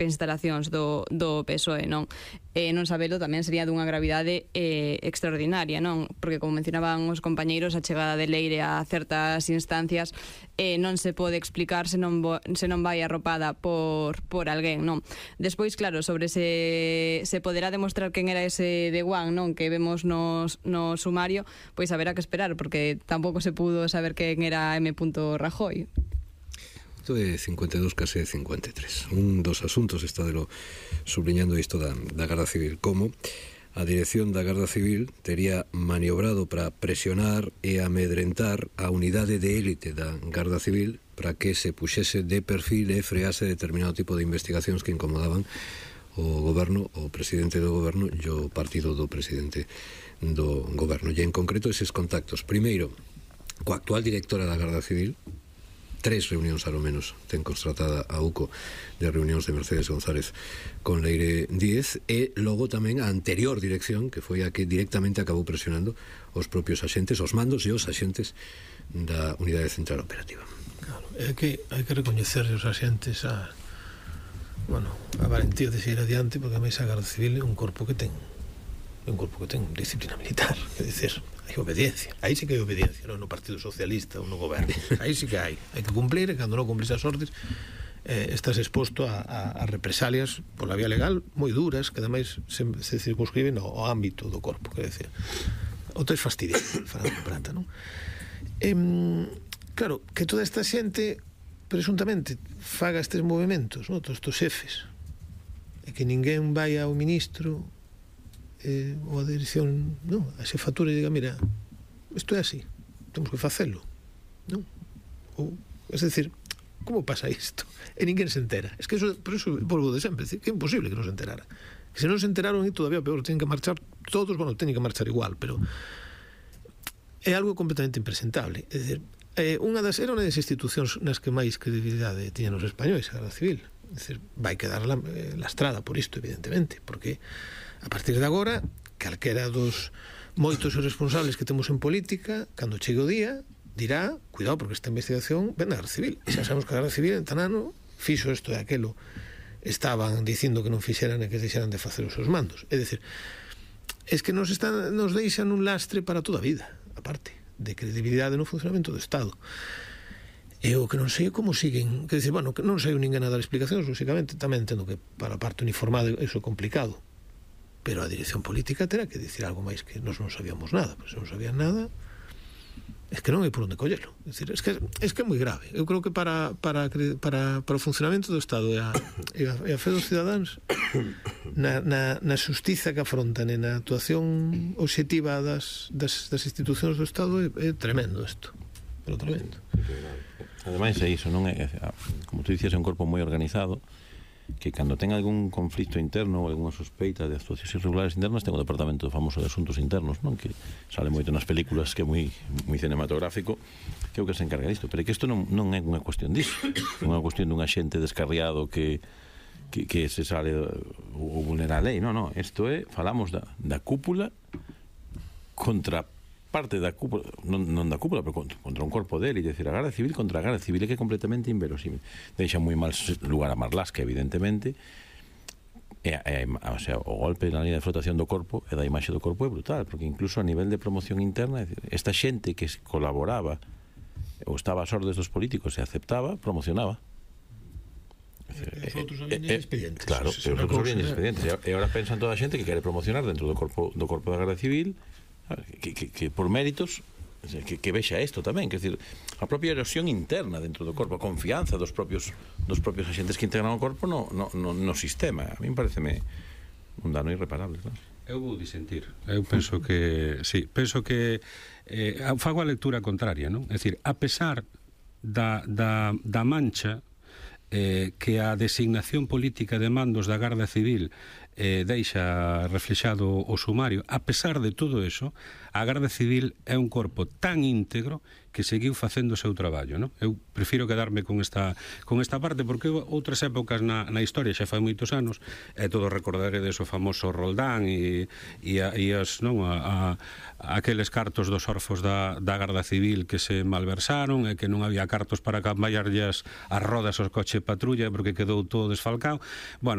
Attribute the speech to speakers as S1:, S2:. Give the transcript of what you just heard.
S1: instalacións do PSOE, non? Non sabelo tamén sería dunha gravidade extraordinaria, non? Porque, como mencionaban os compañeiros, a chegada de Leire a certas instancias non se pode explicar se non vai arropada por alguén, non? Despois, claro, sobre se poderá demostrar quen era ese de Juan, non? Que vemos no sumario, pois haberá que esperar, porque tampouco se pudo saber quen era M. Rajoy.
S2: Isto é 52, case 53. Un dos asuntos está subliñando isto da Garda Civil, como a dirección da Garda Civil tería maniobrado para presionar e amedrentar a unidade de élite da Garda Civil para que se puxese de perfil e frease determinado tipo de investigacións que incomodaban o goberno, o presidente do goberno e o partido do presidente do goberno. E en concreto eses contactos, primeiro, coa actual directora da Garda Civil, 3 reunións ao menos ten constatada a UCO de reunións de Mercedes González con Leire Díez, e logo tamén a anterior dirección, que foi a que directamente acabou presionando os propios axentes, os mandos e os axentes da Unidade Central Operativa.
S3: Claro, é que hai que recoñecer os axentes a valentía de seguir adiante, porque a máis a Garda Civil é un corpo que ten disciplina militar, é dicir, hai obediencia, aí sí que hai obediencia, non no Partido Socialista ou no goberno, aí sí que hai que cumplir, e cando non cumplis as ordes estás exposto a represalias pola vía legal moi duras, que ademais se circunscriben ao ámbito do corpo, quer dizer, o tes fastidiado, falando de prata, non? Claro, que toda esta xente presuntamente faga estes movimentos, non? Todos estes xefes, e que ninguén vai ao ministro ou a dirección, non, a xefatura e diga, mira, isto é así, temos que facelo, non? Ou, es decir, como pasa isto? E ninguén se entera. Es que eso, por eso volvo de sempre, decir, que é imposible que non se enterara. Que se non se enteraron, e todavía peor, tienen que marchar todos, teñen que marchar igual, pero é algo completamente impresentable. É dicir, era unha das institucións nas que máis credibilidade tiñan os españois, a Garda Civil. É dicir, vai quedar lastrada por isto, evidentemente, porque a partir de agora, calquera dos moitos responsables que temos en política, cando chegue o día, dirá, cuidado, porque esta investigación ven da Garda Civil. E xa sabemos que a Garda Civil en tan ano fixo isto e aquelo, estaban dicindo que non fixeran e que deixaran de facer os seus mandos. É dicir, es que nos deixan un lastre para toda a vida, aparte, de credibilidade no funcionamento do Estado. E o que non sei como siguen, que decir, que non sei ninguén a dar explicacións, lógicamente, tamén entendo que para a parte uniformada iso é complicado, pero a dirección política terá que dicir algo máis, que nós non sabíamos nada, porque se non sabían nada, es que non hai por onde collelo. É dicir, es que é moi grave. Eu creo que para o funcionamento do Estado e a fe dos cidadáns na xustiza que afrontan e na actuación obxectiva das institucións do Estado é tremendo isto, pero tremendo.
S4: Ademais é iso, non é, como tú dicías, é un corpo moi organizado, que cando ten algún conflicto interno ou algunha sospeita de actuacións irregulares internas, ten o departamento famoso de asuntos internos, non? Que sale moito nas películas, que é moi cinematográfico, que é o que se encarga disto. Pero é que isto non é unha cuestión disso, non é unha cuestión dun axente descarriado que se sale ou vulnera a lei, non, isto é, falamos da cúpula contra parte da cúpula, non da cúpula, pero contra un corpo dele, e decir, a Garda Civil contra a Garda Civil, é que é completamente inverosímil. Deixa moi mal lugar a Marlaska, evidentemente, o sea, o golpe na línea de flotación do corpo e da imaxe do corpo é brutal, porque incluso a nivel de promoción interna, esta xente que colaboraba ou estaba ás ordes dos políticos e aceptaba, promocionaba.
S3: Os outros habían expedientes.
S4: Claro, os outros habían expedientes. E agora pensan toda a xente que quere promocionar dentro do corpo da Garda Civil, que por méritos que vexa isto tamén, que decir, a propia erosión interna dentro do corpo, a confianza dos propios axentes que integran o corpo no sistema. A mí pareceme un dano irreparable, claro.
S5: Eu vou disentir. Eu penso que fago a lectura contraria, non? É dicir, a pesar da mancha que a designación política de mandos da Garda Civil deixa reflexado o sumario. A pesar de todo eso, a Garda Civil é un corpo tan íntegro que seguiu facendo o seu traballo, non? Eu prefiro quedarme con esta parte, porque outras épocas na historia, xa fai moitos anos, todos recordaredes o famoso Roldán e aqueles cartos dos orfos da Garda Civil que se malversaron e que non había cartos para cambiarlles as rodas aos coche patrulla porque quedou todo desfalcado. Bueno,